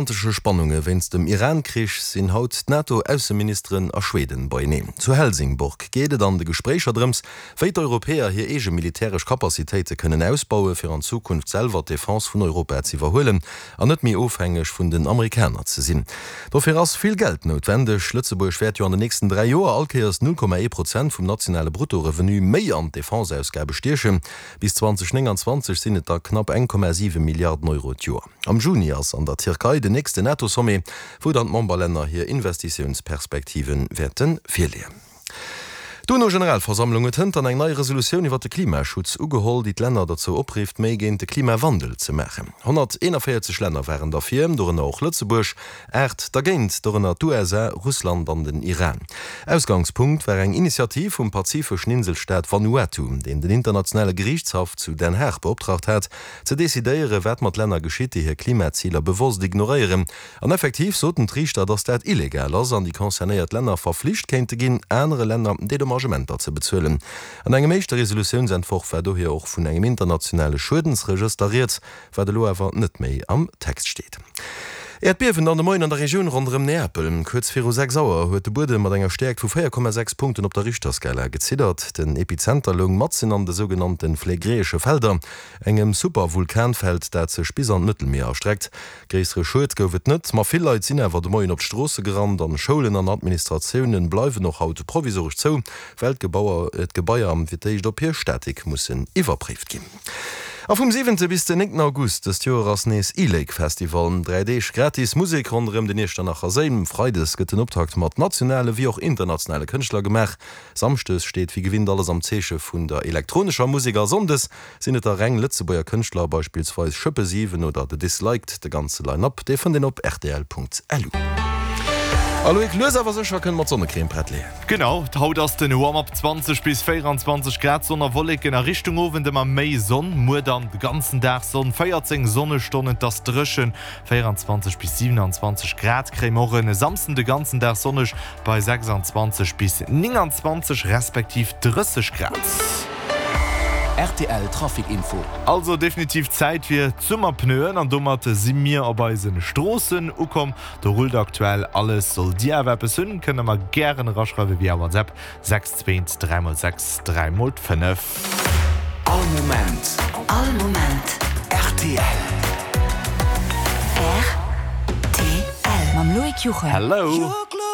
Atlantesche Spannunge wéinst dem Iran-Krich sinn haut d'NATO-Ausseministeren a Schweden beieneen. Zu Helsingborg geet et an de Gespréicher drëms, wéi d'Europäer hir eege militäresch Capacitéite kënnen ausbaue fir an Zukunft selwer d'Defense vun Europa z'iwwerhuelen an net méi ofhängeg vun den Amerikaner ze sinn. Dofir ass vill Geld noutwendeg. Lëtzebuerg wäert jo an den nächsten 3 Joer all Kéiers 0,1 Prozent vum nationale Bruttorevenu méi an d'Defenseausgabe stiechen. Bis 2029 sinn et da knapp 1,7 Milliarden Euro d'Joer. Am Juni ass an der Tierkei den nächsten NATO-Sommet, wou dann d'Memberlänner hir Investitiounsperspektive wäerte virleeën. D'UNO-Generalversammlung huet hënt dann eng nei Resolutioun iwwer de Klimaschutz ugeholl, déi d'Länner derzou oprifft, méi géint de Klimawandel ze maachen. 141 Länner waren derfir, dorënner och Lëtzebuerg, 8 dergéint, dorënner d'USA, Russland an den Iran. Ausgangspunkt war eng Initiativ vum pazifeschen Inselstaat Vanuatu, deen den internationale Geriichtshaff zu Den Haag beoptraagt hat, Ze decidéieren, wat mat Länner geschitt, déi hir Klimaziler bewosst ignoréieren. An effektiv soten d'Riichter, datt dat illegal ass an déi concernéiert Länner verflicht kéinte ginn, anere Länner Dedommagementer ze bezuelen. An engem éischte Resolutiounsentworf war dohier och vun engem internationale Schuedensregëster rieds, wat elo awer net méi am Text steet. Äerdbiewen dann de Moien an der Regioun ronderëm Neapel. Kuerz viru 6 Auer huet de Buedem mat enger Stäerkt vu 4,6 Punkten op der Richterskala geziddert. Den Epizenter loung matzen an de sougenannte Phlegräesche Felder. Engem Super-Vulkanfeld, dat sech bis an d'Mëttelmier erstreckt. Gréissere Schued gouf et net, ma vill Leit sinn awer de Moien op d'Stroosse gerannt an Schoulen an Administratioune bleiwen och haut provisoresch zou, well d'Gebaier fir d'éischt op hir Statik mussen iwwerpréift ginn. A vum siwente bis den néngten August dëst Joer ass nees E-Lake Festival. 3 Deeg gratis Musek ronderëm den Iechternacher Séi. Freides gëtt den Optakt mat nationale wéi och internationale Kënschtler gemaach. Samschdes steet wéi gewinnt alles am Zeeche vun der elektronescher Musek a Sonndes Sinn et da reng Lëtzebuerger Kënschtler, beispillsweis Schëppe 7 oder The Disliked? De ganze Line-Up, dee fënnt een op rtl.lu. A Loïc, lues awer sécher kënne mer d'Sonnecrème prett leeën. Genau, haut ass den Warm-up 20 bis 24 Grad, Sonn a Wolleken, a Richtung Owend ëmmer méi Sonn. Muer dann de ganzen Dag Sonn, 14 Sonnestonnen, et ass dréchen, 24 bis 27 Grad kréie mer och e Samsden de ganzen Dag sonneg, Bei 26 bis 29 respektiv 30 Grad. Rtl Trafic Info. Also definitiv Zäit fir d'Summerpneuen an domat si mir op eise Stroossen ukomm. Do rullt aktuell alles. Sollt dir awer eppes hunn, kënnt der mer gären eraschreiwe via WhatsApp 6 2 3 x 6 3 x 5. All Moment. All Moment. Rtl. Rtl. Mam Loïc Juchem. Hello.